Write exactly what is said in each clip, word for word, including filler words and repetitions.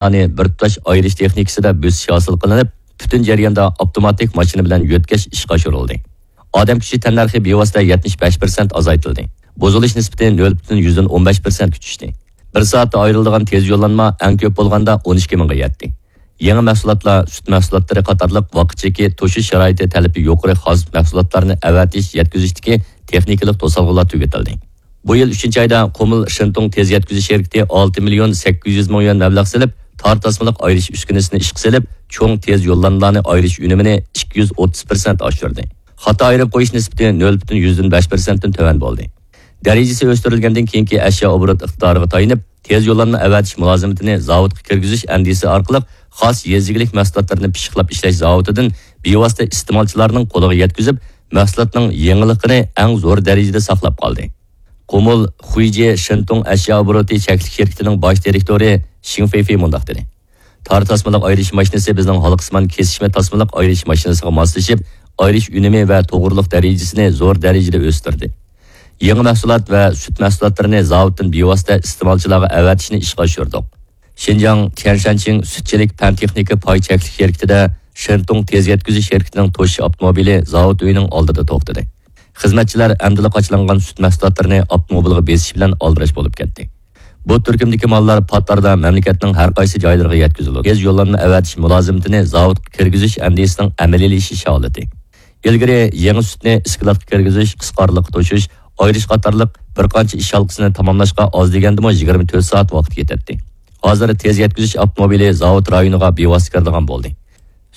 ماشىنىلارنى بىر تۇتاش ئايرىش تېخنىكىسىدا بۆسۈش ھاسىل قىلىنىپ، پۈتۈن جەرياندا ئاپتوماتىك ماشىنا بىلەن يۆتكەش ئىشقا ئاشۇرۇلدى. ئادەم كۈچى تەننەرخى بىۋاسىتە يەتمىش بەش پىرسەنت ئازايتىلدى. بۇزۇلۇش نىسبىتى نۆل پۈتۈن يۈزدىن ئون بەش پىرسەنتكە چۈشتى. بىر سائەتتە ئايرىلىدىغان تېز يوللانما ئەڭ كۆپ بولغاندا ئون ئىككى مىڭغا يەتتى. يېڭى مەھسۇلاتلار، سۈت مەھسۇلاتلىرى قاتارلىق ۋاقىت چېكى توشۇش شارائىتى تەلىپى يۇقىرى خاس مەھسۇلاتلارنى ئەۋەتىش، يەتكۈزۈشتىكى تېخنىكىلىق توسالغۇلار تۈگىتىلدى. بۇ يىل ئۈچىنچى ئايدا قۇمۇل شېنتۇڭ تېز يەتكۈزۈش شىركىتى ئالتە مىليون سەككىز يۈز مىڭ يۈەن مەبلەغ سېلىپ، تار تاسمىلىق ئايرىش ئۈسكۈنىسىنى ئىشقا سېلىپ، چوڭ تېز يوللانمىلارنى ئايرىش ئۈنۈمىنى ئىككى يۈز ئوتتۇز پىرسەنت ئاشۇردى. خاتا ئايرىپ قويۇش نىسبىتى نۆل پۈتۈن يۈزدىن بەش پىرسەنتتىن تۆۋەن بولدى. دەرىجىسى ئۆستۈرۈلگەندىن كېيىنكى ئەشيا ئوبوروت ئىقتىدارىغا تايىنىپ، تېز يوللانما ئەۋەتىش مۇلازىمىتىنى زاۋۇتقا كىرگۈزۈش ئەندىزىسى ئارقىلىق خاس يېزا ئىگىلىك مەھسۇلاتلىرىنى پىششىقلاپ ئىشلەش زاۋۇتىدىن بىۋاسىتە ئىستېمالچىلارنىڭ قولىغا يەتكۈزۈپ، مەھسۇلاتنىڭ يېڭىلىقىنى ئەڭ زور دەرىجىدە ساقلاپ قالدى. قۇمۇل خۇيجې شېنتۇڭ ئەشيا ئوبوروتى چەكلىك شىركىتىنىڭ باش دىرېكتورى شىڭ فېيفېي مۇنداق دېدى: تار تاسمىلىق ئايرىش ماشىنىسى بىزنىڭ ھالقىسىمان كېسىشمە تاسمىلىق ئايرىش ماشىنىسىغا ماسلىشىپ، ئايرىش ئۈنۈمى ۋە توغرىلىق دەرىجىسىنى زور دەرىجىدە ئۆستۈردى. يېڭى مەھسۇلات ۋە سۈت مەھسۇلاتلىرىنى زاۋۇتتىن بىۋاسىتە ئىستېمالچىلارغا ئەۋەتىشنى ئىشقا ئاشۇردۇق. شىنجاڭ تيەنشانچىڭ سۈتچىلىك پەن تېخنىكا پاي چەكلىك شىركىتىدە شېنتۇڭ تېز يەتكۈزۈش شىركىتىنىڭ توشۇش ئاپتوموبىلى زاۋۇت ئۆيىنىڭ ئالدىدا توختىدى. خىزمەتچىلەر ئەمدىلا قاچىلانغان سۈت مەھسۇلاتلىرىنى ئاپتوموبىلغا بېسىش بىلەن ئالدىراش بولۇپ كەتتى. بۇ تۈركۈمدىكى ماللار پات ئارىدا مەملىكەتنىڭ ھەر قايسى جايلىرىغا يەتكۈزۈلىدۇ. تېز يوللانما ئەۋەتىش مۇلازىمىتىنى زاۋۇتقا كىرگۈزۈش ئەندىزىسىنىڭ ئەمەلىيلىشىش ھالىتى. ئىلگىرى يېڭى سۈتنى ئىسكىلاتقا كىرگۈزۈش، قىسقا ئارىلىققا توشۇش، ئايرىش قاتارلىق بىر قانچە ئىش ھالقىسىنى تاماملاشقا ئاز دېگەندىمۇ يىگىرمە تۆت سائەت ۋاقىت كېتەتتى. ھازىر تېز يەتكۈزۈش ئاپتوموبىلى زاۋۇت رايونىغا بىۋاسىتە كىرىدىغان بولدى.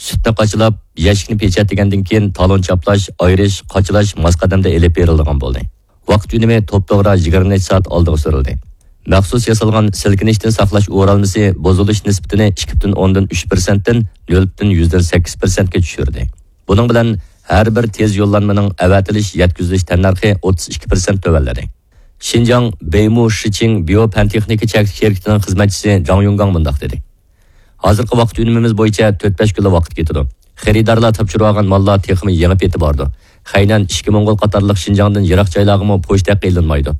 سۈتنى قاچىلاپ، يەشىكنى پېچەتلىگەندىن كېيىن، تالون چاپلاش، ئايرىش، قاچىلاش ماس قەدەمدە ئېلىپ بېرىلىدىغان بولدى. ۋاقىت ئۈنۈمى توپتوغرا يىگىرمە نەچچە سائەت ئالدىغا سۈرۈلدى. مەخسۇس ياسالغان سىلكىنىشتىن ساقلاش ئورالمىسى بۇزۇلۇش نىسبىتىنى ئىككى پۈتۈن ئوندىن ئۈچ پىرسەنتتىن نۆل پۈتۈن يۈزدىن سەككىز پىرسەنتكە چۈشۈردى. بۇنىڭ بىلەن ھەر بىر تېز يوللانمىنىڭ ئەۋەتىلىش، يەتكۈزۈلۈش تەننەرخى ئوتتۇز ئىككى پىرسەنت تۆۋەنلىدى. شىنجاڭ بېيمۇ شىچىڭ بىيو پەن تېخنىكا چەكلىك شىركىتىنىڭ خىزمەتچىسى جاڭ يۇڭگاڭ مۇنداق دېدى: ھازىرقى ۋاقىت ئۈنۈمىمىز بويىچە تۆت-بەش كۈنلا ۋاقىت كېتىدۇ. خېرىدارلار تاپشۇرۇۋالغان ماللار تېخىمۇ يېڭى پېتى باردۇ. خەينەن، ئىچكى موڭغۇل قاتارلىق شىنجاڭدىن يىراق جايلارغىمۇ پوچتا ھەققى ئېلىنمايدۇ.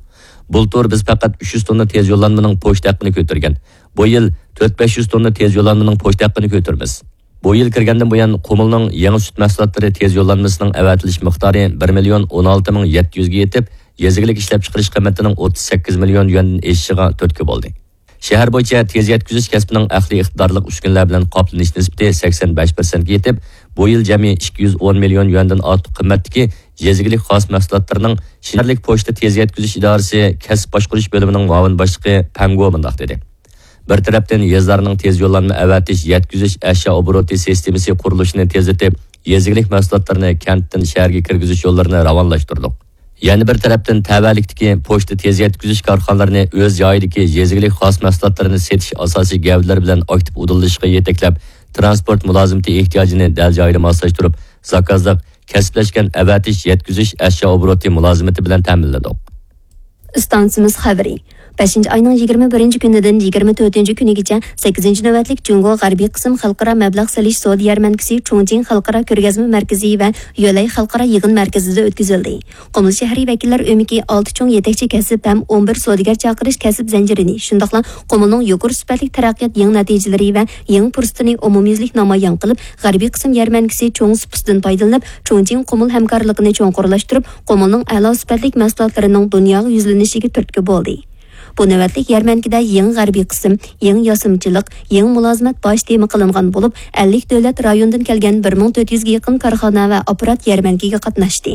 بۇلتۇر بىز پەقەت ئۈچ يۈز توننا تېز يوللانمىنىڭ پوچتا ھەققىنى كۆتۈرگەن. بۇ يىل تۆت-بەش يۈز توننا تېز يوللانمىنىڭ پوچتا ھەققىنى كۆتۈرىمىز. بۇ يىل كىرگەندىن بۇيان، قۇمۇلنىڭ يېڭى سۈت مەھسۇلاتلىرى تېز يوللانمىسىنىڭ ئەۋەتىلىش مىقدارى بىر مىليون ئون ئالتە مىڭ يەتتە يۈزگە يېتىپ، يېزا ئىگىلىك ئىشلەپچىقىرىش قىممىتىنىڭ ئوتتۇز سەككىز مىليون يۈەندىن ئېشىشىغا تۈرتكە بولدى. شەھەر بويىچە تېز يەتكۈزۈش كەسپىنىڭ ئەقلىي ئىقتىدارلىق ئۈسكۈنىلەر بىلەن قاپلىنىش نىسبىتى سەكسەن بەش پىرسەنتكە يېتىپ، بۇ يىل جەمئىي ئىككى يۈز ئون مىليون يۈەندىن ئارتۇق قىممەتتىكى يېزا ئىگىلىك خاس مەھسۇلاتلىرىنىڭ شىنجاڭ شەھەرلىك پوچتا تېز يەتكۈزۈش ئىدارىسى كەسىپ باشقۇرۇش بۆلۈمىنىڭ مۇئاۋىن باشلىقى پەڭ گو مۇنداق دېدى: بىر تەرەپتىن، يېزىلارنىڭ تېز يوللانما ئەۋەتىش، يەتكۈزۈش، ئەشيا ئوبوروتى سىستېمىسى قۇرۇلۇشىنى تېزلىتىپ، يېزا ئىگىلىك مەھسۇلاتلىرىنى كەنتتىن شەھەرگە كىرگۈزۈش يوللىرىنى راۋانلاشتۇردۇق. يەنە بىر تەرەپتىن، تەۋەلىكتىكى پوچتا تېز يەتكۈزۈش كارخانىلىرىنى ئۆز جايىدىكى يېزا ئىگىلىك خاس مەھسۇلاتلىرىنى سېتىش ئاساسىي گەۋدىلىرى بىلەن ئاكتىپ ئۇدۇللىشىشقا يېتەكلەپ، تىرانسپورت مۇلازىمىتى ئېھتىياجىنى دەل جايىدا ماسلاشتۇرۇپ، زاكازلىق، كەسىپلەشكەن ئەۋەتىش، يەتكۈزۈش، ئەشيا ئوبوروتى مۇلازىمىتى بىلەن تەمىنلىدۇق. ئىستانسىمىز خەۋىرى. بەشىنچى ئاينىڭ يىگىرمە بىرىنچى كۈنىدىن يىگىرمە تۆتىنچى كۈنىگىچە سەككىزىنچى نۆۋەتلىك جۇڭگو غەربىي قىسىم خەلقئارا مەبلەغ سېلىش سودا يەرمەنكىسى چۇڭچىڭ خەلقئارا كۆرگەزمە مەركىزى ۋە يۆلەي خەلقئارا يىغىن مەركىزىدە ئۆتكۈزۈلدى. قۇمۇل شەھىرى ۋەكىللەر ئۆمىكى ئالتە چوڭ يېتەكچى كەسىپ ھەم ئون بىر سودىگەر چاقىرىش كەسىپ زەنجىرىنى، شۇنداقلا قۇمۇلنىڭ يۇقىرى سۈپەتلىك تەرەققىيات يېڭى نەتىجىلىرى ۋە يېڭى پۇرسىتىنى ئومۇميۈزلۈك نامايان قىلىپ، غەربىي قىسىم يەرمەنكىسى چوڭ سۇپىسىدىن پايدىلىنىپ، چۇڭچىڭ قۇمۇل ھەمكارلىقىنى چوڭقۇرلاشتۇرۇپ، قۇمۇلنىڭ ئەلا سۈپەتلىك مەھسۇلاتلىرىنىڭ دۇنياغا يۈزلىنىشىگە تۈرتكە بولدى. بۇ نۆۋەتلىك يەرمەنكىدە يېڭى غەربىي قىسىم، يېڭى ياسىمىچىلىق، يېڭى مۇلازىمەت باش تېما قىلىنغان بولۇپ، ئەللىك دۆلەت رايونىدىن كەلگەن بىر مىڭ تۆت يۈزگە يېقىن كارخانا ۋە ئاپپارات يەرمەنكىگە قاتناشتى.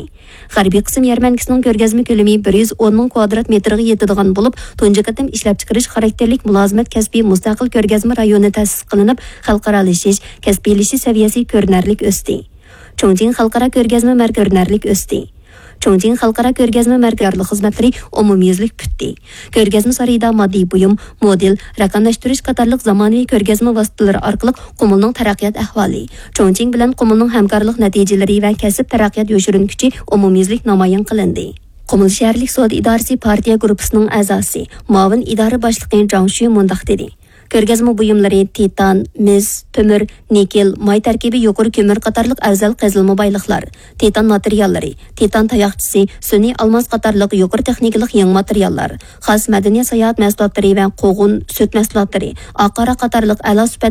غەربىي قىسىم يەرمەنكىسىنىڭ كۆرگەزمە كۆلىمى بىر يۈز ئون مىڭ كۋادرات مېتىرغا يېتىدىغان بولۇپ، تۇنجى قېتىم ئىشلەپچىقىرىش خاراكتېرلىك مۇلازىمەت كەسپىي مۇستەقىل كۆرگەزمە رايونى تەسىس قىلىنىپ، خەلقئارالىشىش، كەسپىيلىشىش سەۋىيەسى كۆرۈنەرلىك ئۆستى. چۇڭچىڭ خەلقئارا كۆرگەزمە مەركىزى كۆرۈنەرلىك ئۆستى. چۇڭچىڭ خەلقئارا كۆرگەزمە مەركىزى خىزمەتلىرى ئومۇميۈزلۈك پۈتتى. كۆرگەزمە سارىيىدا ماددىي بۇيۇم، مودېل، رەقەملەشتۈرۈش قاتارلىق زامانىۋى كۆرگەزمە ۋاسىتىلىرى ئارقىلىق قۇمۇلنىڭ تەرەققىيات ئەھۋالى، چۇڭچىڭ بىلەن قۇمۇلنىڭ ھەمكارلىق نەتىجىلىرى ۋە كەسىپ تەرەققىيات يوشۇرۇن كۈچى ئومۇميۈزلۈك نامايان قىلىندى. قۇمۇل شەھەرلىك سودا ئىدارىسى پارتىيە گۇرۇپپىسىنىڭ ئەزاسى، مۇئاۋىن ئىدارە باشلىقى جاڭ شۈ مۇنداق دېدى: كۆرگەزمە بۇيۇملىرى تىتان، مىس، تۆمۈر، نىكېل، ماي تەركىبى يۇقىرى كۆمۈر قاتارلىق ئەۋزەل قېزىلما بايلىقلار، تىتان ماتېرىياللىرى، تىتان تاياقچىسى، سۈنئىي ئالماس قاتارلىق يۇقىرى تېخنىكىلىق يېڭى ماتېرىياللار، خاس مەدەنىيەت ساياھەت مەھسۇلاتلىرى ۋە قوغۇن، سۈت مەھسۇلاتلىرى، ئاق ھاراق قاتارلىق ئەلا سۈپەت